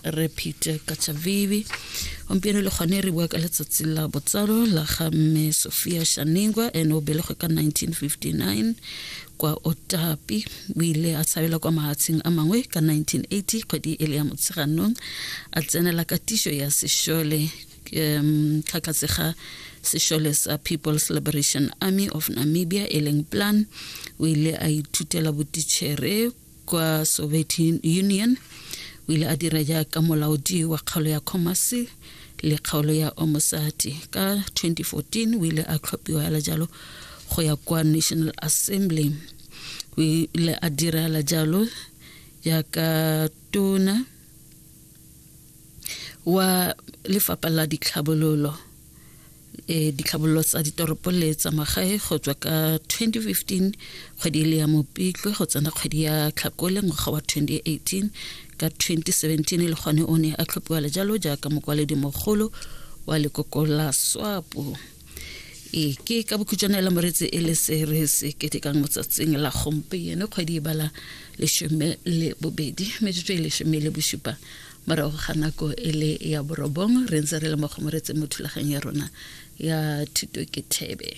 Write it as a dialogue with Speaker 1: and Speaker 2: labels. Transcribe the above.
Speaker 1: Re Peter Katjavivi. Gompieno le gone re bua ka letsatsi la botsalo la ga mme Sophia Shaningwa, ene o belegwe ka 1959 kwa Otapi. O ile a tshabela kwa mahatsheng a mangwe ka 1980 kgwedi e le ya Motsheganong, a tsenela katiso ya sešole kgakatse ga sešole sa People's Liberation Army of Namibia e leng Plan. O ile a ithutela botitšhere kwa Soviet Union. O ile a dira jaaka molaodi wa kgaolo ya Commerce le kgaolo ya Omusati. Ka 2014 o ile a tlhophiwa hela jalo go ya kwa National Assembly. O ile a dira hela jalo jaaka tona wa lefapha la ditlhabololo e ditlhabololo tsa ditoropo le tsa magae go tswa ka 2015 kgwedi e le ya Mopitlwe go tsena kgwedi ya Tlhakole ngwaga wa 2018. Ka 2017 le gone o ne a tlhophiwa le jalo jaaka mokwaledi mogolo wa lekoko la SWAPO. E ke ka bokhutshwane la moretsi e le se re se ketekang motsatsing la gompieno, kgwedi e bala 12 metsotso e 17 morago ga nako e le ya 9. Re ntse re le mo go moretse mo thulaganyo ya rona ya Thuto ke Thebe.